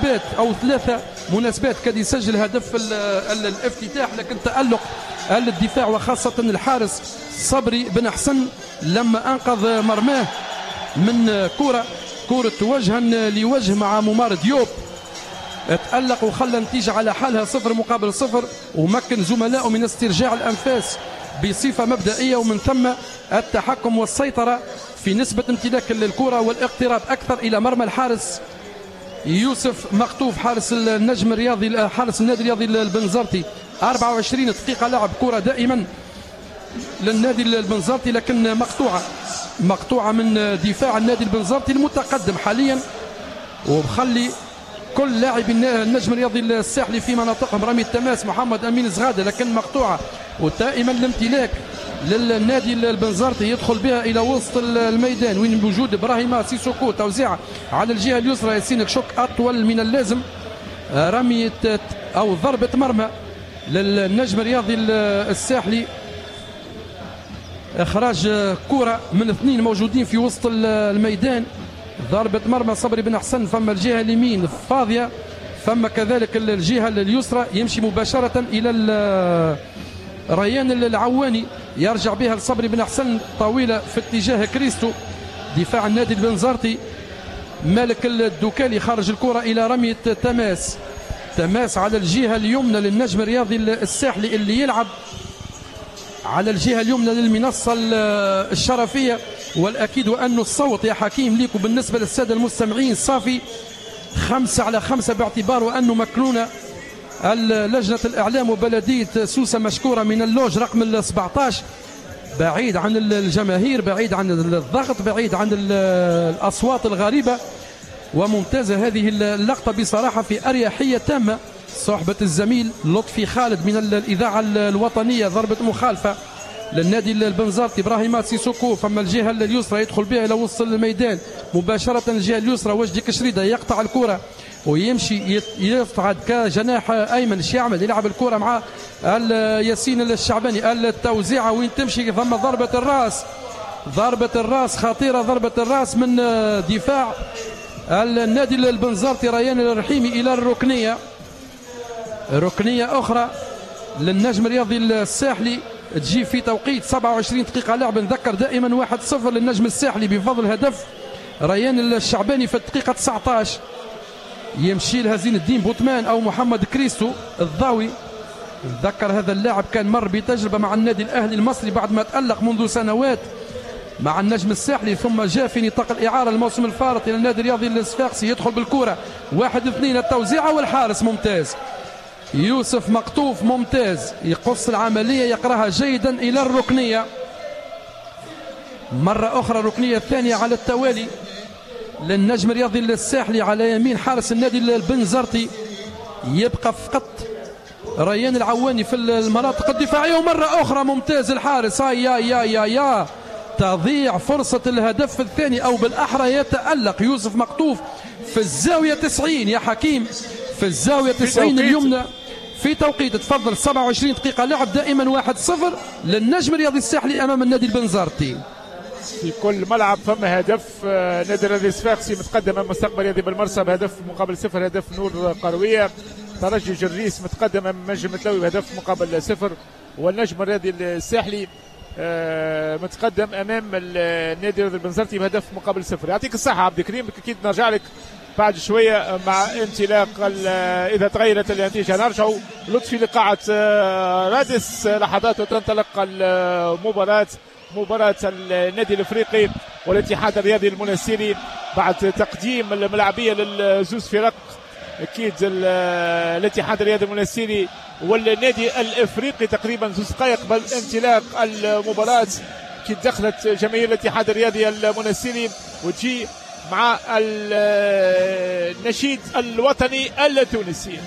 مناسبات او 3 مناسبات كان يسجل هدف الافتتاح، لكن تألق الدفاع وخاصة الحارس صبري بن حسن لما انقذ مرماه من كرة وجها لوجه مع ممار ديوب. تألق وخلى النتيجة على حالها 0-0، ومكن زملائه من استرجاع الأنفاس بصفة مبدئية، ومن ثم التحكم والسيطرة في نسبة امتلاك الكرة والاقتراب أكثر إلى مرمى الحارس يوسف مقطوف حارس النجم الرياضي، حارس النادي الرياضي البنزرتي. 24 دقيقة لعب، كرة دائما للنادي البنزرتي لكن مقطوعة من دفاع النادي البنزرتي المتقدم حاليا، ومخلي كل لاعبي النجم الرياضي الساحلي في مناطقهم. رمي التماس محمد امين زغاده لكن مقطوعة، ودائما الامتلاك للنادي البنزرتي يدخل بها الى وسط الميدان وين بوجود ابراهيم سيسوكو. توزيع على الجهة اليسرى ياسين كشوك اطول من اللازم، رمية او ضربه مرمى للنجم الرياضي الساحلي. اخراج كره من 2 موجودين في وسط الميدان، ضربة مرمى صبري بن حسن. فما الجهة اليمين فاضية، فما كذلك الجهة اليسرى، يمشي مباشرة إلى ريان العواني، يرجع بها لصبري بن حسن، طويلة في اتجاه كريستو. دفاع النادي البنزرتي، مالك الدوكالي خارج الكرة إلى رمية تماس، تماس على الجهة اليمنى للنجم الرياضي الساحلي اللي يلعب على الجهة اليمنى للمنصة الشرفية. والأكيد وأن الصوت يا حكيم ليكم بالنسبة للسادة المستمعين صافي 5/5، باعتبار وأنه مكنونة لجنة الإعلام وبلدية سوسة مشكورة من اللوج رقم 17، بعيد عن الجماهير، بعيد عن الضغط، بعيد عن الأصوات الغريبة. وممتازة هذه اللقطة بصراحة في أريحية تامة. صحبة الزميل لطفي خالد من الإذاعة الوطنية. ضربة مخالفة للنادي البنزرتي، إبراهيم سيسوكو. فما الجهة اليسرى يدخل بها إلى وسط الميدان مباشرة، الجهة اليسرى وجدي كشريدة يقطع الكرة ويمشي يصعد كجناح أيمن. ايش يعمل؟ يلعب الكرة مع ياسين الشعباني. التوزيعة وين تمشي؟ ثم ضربة الرأس، ضربة الرأس خطيرة، ضربة الرأس من دفاع النادي البنزرتي ريان الرحيمي إلى الركنية. ركنية أخرى للنجم الرياضي الساحلي تجي في توقيت 27 دقيقة لعب. نذكر دائما 1-0 للنجم الساحلي بفضل هدف ريان الشعباني في الدقيقة 19. يمشي لها زين الدين بوتمان أو محمد كريستو الضاوي. نذكر هذا اللاعب كان مر بتجربة مع النادي الأهلي المصري بعد ما تألق منذ سنوات مع النجم الساحلي، ثم جاء في نطاق الإعارة الموسم الفارط إلى النادي الرياضي الصفاقسي. يدخل بالكرة 1-2، التوزيعة والحارس ممتاز يوسف مقطوف، ممتاز يقص العملية، يقراها جيدا إلى الركنية. مرة أخرى الركنية الثانية على التوالي للنجم الرياضي الساحلي على يمين حارس النادي البنزرتي. يبقى فقط ريان العواني في المناطق الدفاعية، ومرة أخرى ممتاز الحارس. يا يا يا يا تضيع فرصة الهدف الثاني، أو بالأحرى يتألق يوسف مقطوف في الزاوية 90 يا حكيم، في الزاوية 90 اليمنى في توقيت. تفضل 27 دقيقة لعب، دائما 1-0 للنجم الرياضي الساحلي أمام النادي البنزرتي. في كل ملعب فما هدف. نادي الرياضي الصفاقسي متقدم امام مستقبل الرياضي بالمرسى بهدف مقابل 0، هدف نور قرويه. ترجي جريس متقدم امام نجم متلوي بهدف مقابل 0، والنجم الرياضي الساحلي متقدم امام النادي الرياضي البنزرتي بهدف مقابل 0. يعطيك الصحة عبد الكريم، اكيد نرجع لك بعد شوية مع انطلاق اذا تغيرت النتيجة. نرجع لطفي لقاعه رادس لحظات وتنطلق المباراة، مباراة النادي الافريقي والاتحاد الرياضي المنستيري بعد تقديم الملاعبيه للزوز فرق. اكيد الاتحاد الرياضي المنستيري والنادي الافريقي تقريبا 2 دقائق قبل انطلاق المباراة. كي دخلت جماهير الاتحاد الرياضي المنستيري وتجي مع النشيد الوطني التونسي.